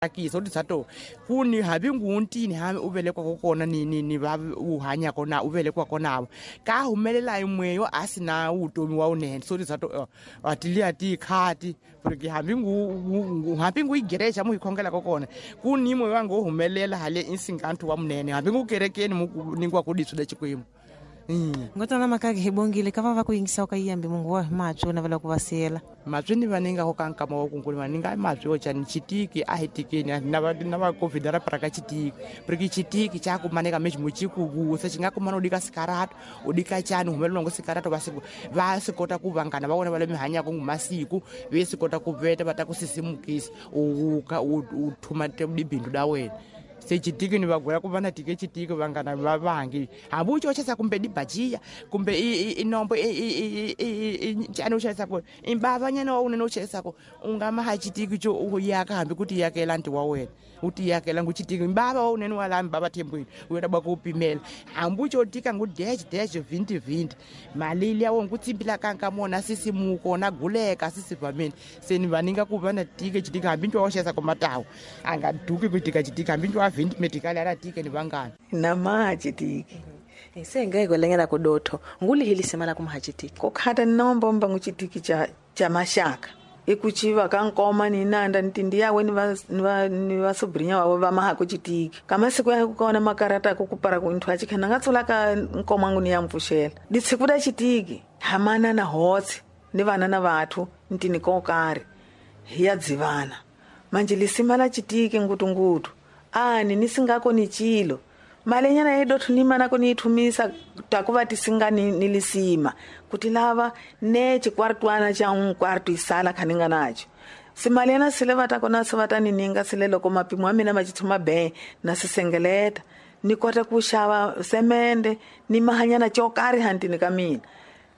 Tsakisa u tisa to ku ni hambi nguntini hambi u velekwaka kona ni va u hanyaka na u velekwaka navo ka humelela yimweyo a si na vutomi wa wunene so tisa to a ti liya ti khati porque hambi ngu hambi ngu igereja mu hi khongelaka kona ku ni moyo wa ngo humelela hale insingantu wa munene hambi ngu kerekeni mu ningiwa ku diswi le Xikwembu. Ngotana makake hi bongile ka va va ku yingisa ka yiyambi mungu wa matswi na vela ku va siyela matswi ni va ni nga ko ka nkama wa kunkulu va ni nga matswi yo cani chitiki a hi tikeni na va covid ra paraka chitiki porque chitiki cha kumaneka meximo xi ku vusa xi nga kumana u dika sikarata u dika cani humelela ngo sikarata va swi kota ku vangana va vona va le mi hanyaka ngu masiku ve swi kota ku veta va ta ku sisimukisa u ka u thuma bindzu da wena. Se chitiki ni va gwela ku va na tike chitiki vangana va vangi hambi u chochesa kumbe dibajiya kumbe i nombo i cani u xavisa ku i bavanyana wa unene u xavisaka u nga ma ha chitiki xo u yaka hambi ku ti yakela nti wa wena u ti yakela ngu chitiki mbava wa unene wa laha mbava thembweni u yota ba ku pimela hambi u xo tika ngu dash dash 20 20 mali liya wo ngu tsimbila kanka mona sisimuko na guleka sisivameni se ni va ni nga ku va na tike chitiki hambi ntwa wa xavisa ku matawu a nga duki ku tika chitiki hambi ntwa wa 20 medical ala tike ni vangani na ma chitiki se nga ikwelengela kudotho ngulihilise mala kumhachitiki kukhata nombomba nguchitiki cha mashaka ikuchiva ka nkoma ni nanda ntindi yawe ni va sobrinya wavo va maha kuchitiki kama siku ya kukona makarata kukupara kunthu achikhana nga tsula ka nkoma ngu ni ya mpfuxela ditshiku da chitiki hamana na hotsi ni vana na vathu ntini ko karhi hi ya dzivana manje lisima la chitiki ngutungutu ani ni singako ni chilo malenyana yedothu ni mana kuni ithumisa takuva tisinga ni lisima kuti lava ne chikwartwana cha nkwartu isala khaninga nacho simalena sile vata kona se vata ni ninga sile loko mapimo a mina machithuma be na sisengeleta ni kota ku xava semende ni mahanyana chokari hantini ka mina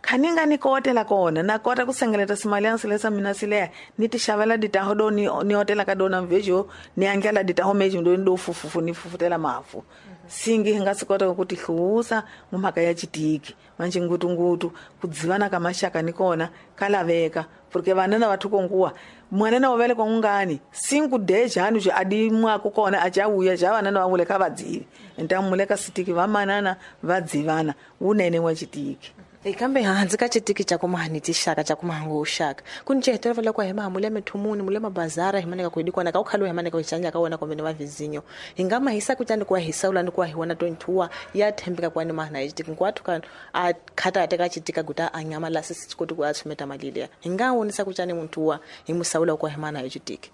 khaninga ni kotela kona na kota ku sengeleta simalena sile sa mina sileya ni ti xavela ditaho do ni otela ka dona mvejo ni angela ditaho mejo ndo ndo fufufu ni fufutela mafu singi nga si kota ku tihlusa mhaka ya chitiki manje ngutungutu kudzivana ka mashaka ni kona kalaveka porque vana na vathu konguwa mwana na wavele kwa ungani sinku dejani je adi mwako kona achauya ja vana na vavule ka vadzivi ntamuleka sitiki vamanana vadzivana unene wa chitiki. Kambe hanzi ka chitiki cha kumahani tishaka cha kumahangu ushaka kunichehetela vale kwa hema mule methumuni mule mabazara himaneka kuidikwana ka ukhalo himaneka kuchanja ka wona komene wa vizinyo ingama hisa kuchani kwa hisaula ni kwa hiwana 22 ya thembeka kwa ni mahana chitiki nkwathu ka a khata ateka chitika guta anyama la sisi kuti kwa tsumeta malile inga wonisa kuchani muntu wa himusaula kwa hemana chitiki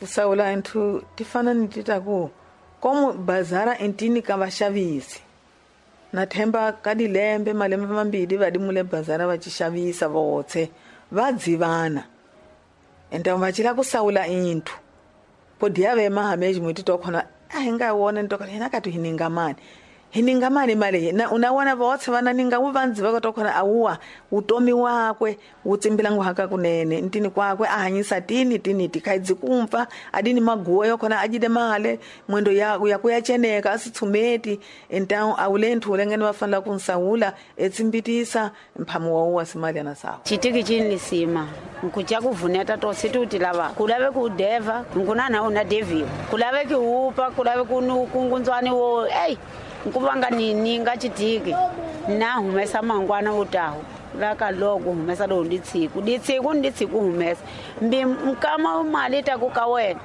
usaula nthu tifana ni titaku komo bazara entini ka vashavisi na themba ka dilembe malembe mambili va dimule bazara va xavisa votse va dzivana enta va chila ku saula inthu podi ya ve mahameji mwiti to khona a hi nga wona nto khona hina ka tu hininga mani mali na unawana votse vana ninga wu vandzi va to khona awuwa utomi wakwe utsimbila nguhaka kunene ntini kwakwe a hanyisa tini tini tikhaidzi kumfa adini maguwa yo khona ajide male mwendo ya kuya cheneka asitsumeti enta awulenthu ulengene vafanela ku nsaula etsimbitisa mphamu wa uwa simali ana sawa chitiki chini sima nkucha kuvuneta to situti lava kulave ku deva nkunana una deviwa kulave ki upa kulave kungunzwani wo ei nkuvanga nini nga chitiki na humesa mangwana utaho laka loko humesa lo nditsiku ditsiku nditsiku humesa mbi mkama mali ta ku ka wena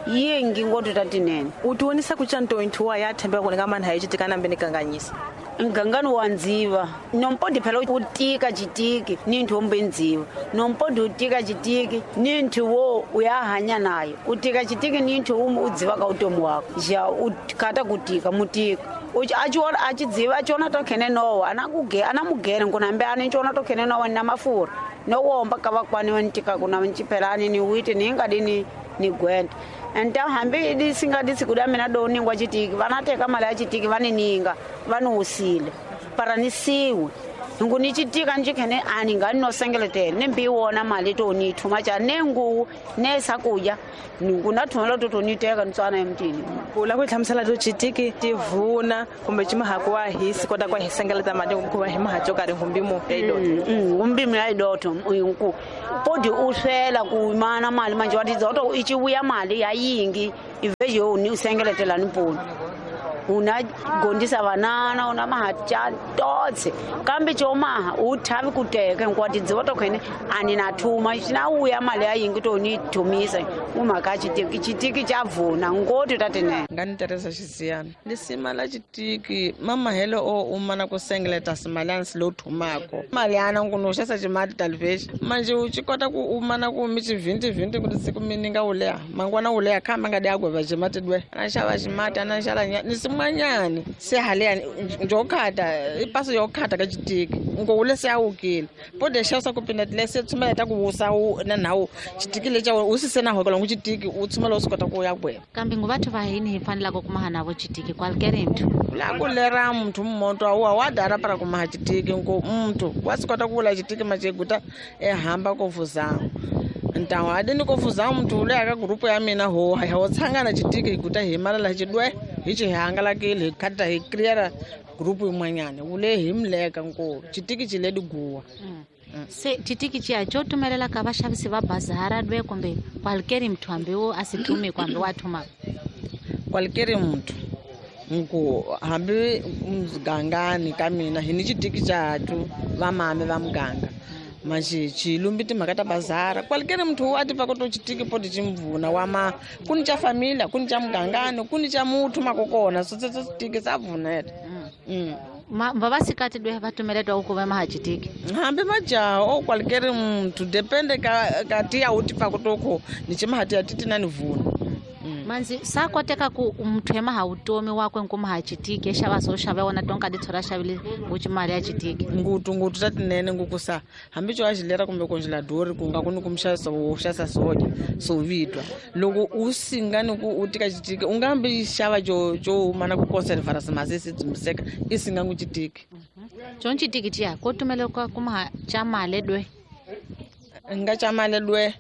yingi ngoto tatinene utionisa kuchanto inthuwa ya themba ku nga manha yichitika nambe nikanganyisa ngangani wa ndziva nompodi phela utika chitiki ni nthombe ndziva nompodi utika chitiki ni nthu wo uyahanya nayo utika chitiki ni nthu udziva ka utomi wako ja ukhata kutika mutika achiona achidziva achiona tokhene nowa anamugere nkunambe ani nchiona tokhene nowa na mafura nowomba kavakwani wantika kuna nchiphelani ni witi ningadini ni gwenda enta hambi disinga ditsikuda mina do ningwa chitiki vanateka mali ya chitiki vanininga vaniusile paranisiwe Ngu ni chitika njikhene ani nga no sengeletela ne mbi wona mali to ni thuma cha ne ngu ne sakuya ngu na thumela to ni teka ntswana emtini kula ku hlamusela to chitiki tivuna kumbe chimahaku wa hisi kota kwa hisengeleta mali ku va hi mahacho ka ri ngumbi ya idoto ngumbi ya idoto nku podi uswela ku mana mali manje wati zoto ichibuya mali ya yingi ivejo ni usengeletela ni poni una gondisa banana una mahacha totse kambe chomaha uthavi kuteka nkwati dzivoto khene ani na thuma china uya mali ayingi to ni thumisa umaka chitiki chitiki chavuna ngoti tatene ngani Teresa Xisiyana lisima la chitiki mama helo o umana ku sengeleta simalani silo thumako mali ana nguno xasa chimali talvex manje u chikota ku umana ku mi chivinti vinti kuti siku mininga uleha mangwana uleha khamba ngadi agweva chimati dwe ana xava chimati ana xala ni simwanyani se haleyani njokhata ipaso yokhata ka chitiki ngowule se awukile pode xasa ku pinda lese tsumela ta ku wusa na nawu chitiki lecha usise na hokola ngu chitiki u tsumela u swi kota ku ya gweva kambe ngu vathu va hini hi fanelaka ku maha navo chitiki kwalkere mthu la ku lera muthu mmoto awa wa dara para ku maha chitiki ngu muthu wa swi kota ku vula chitiki macheguta ehamba ko vuzango ntawo adini ko vuzango muthu ule aka grupu ya mina ho ho tshangana chitiki higuta hi mala la chidwe hi chi hangalakile hi khata hi clear grupu yin'wanyana ule hi mleka nko chitiki chile diguwa se chitiki chiya cho tumelela ka vaxavisi va bazara dwe kumbe kwalkeri muthu hambi wo asithume kwambe wa thuma kwalkeri muthu nku hambi mugangani ka mina hi ni chitiki chathu vamame va muganga manje chilumbi timhaka ta bazara kwalkeri muthu wa tiva ku to chitiki poti chimvuna wama kuni cha familia kuni cha mugangani kuni cha muthu makokona so chitiki sa vuneta vavasikati dwe va tumeletwa ku va maha chitiki hambi majaha o kwalkeri muthu depende ka tiya u tiva ku to ko ni chimahati ya titi na ni vuna manzi sa koteka ku muthu emaha utomi wakwe nkumaha chitiki exava so xava wona tonka dithora xavile nguchimali ya chitiki ngutu ngutu tatinene ngukusa hambi cho axilera kumbe konjela dori ku nga kuni kumxavisa wo xasa soja so vitwa loko u singa ni ku u tika chitiki u nga hambi xava jo jo mana ku conservara simasisi dzimiseka i singa ngu chitiki chon chitiki chiya ko tumele kwa kumaha cha male dwe nga cha male dwe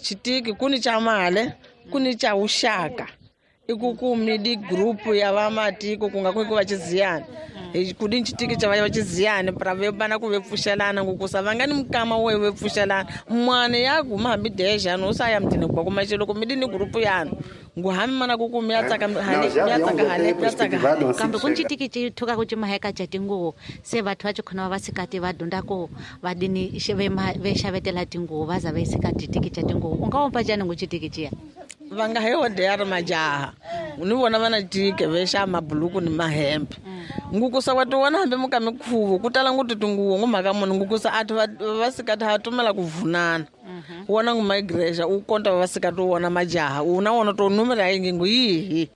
chitiki kuni cha male kuni cha uxaka ikukumi di group ya vamatiko ku nga ku va chiziyana kudi chitiki cha va chiziyana pra ve bana ku ve pfuxelana ngukusa va nga ni mukama wo ve pfuxelana mwana ya guma hambi deja no sa ya mtini kwa kuma loko mi di ni group yana ngu hambi mana ku ku mi ya tsaka hale ya tsaka hale ya tsaka kambe ku chitiki chi thuka ku chimaheka cha tinguwo se vathu va chikhona va sikati va dunda ko va dini ve xavetela tinguwo va za ve sika chitiki cha tinguwo u nga wompa njhani ngu chitiki chiya va nga he odera majaha ni vona va na tike ve xa mabuluku ni mahembe ngukusa wa tiwona hambi muka mikhuvo ku tala nguti tinguwo ngu mhaka munhu ngukusa athu va sikati ha tumela ku vunana wona ngu migration u konta va sikati wona majaha una wona to numera yingi ngu yihi.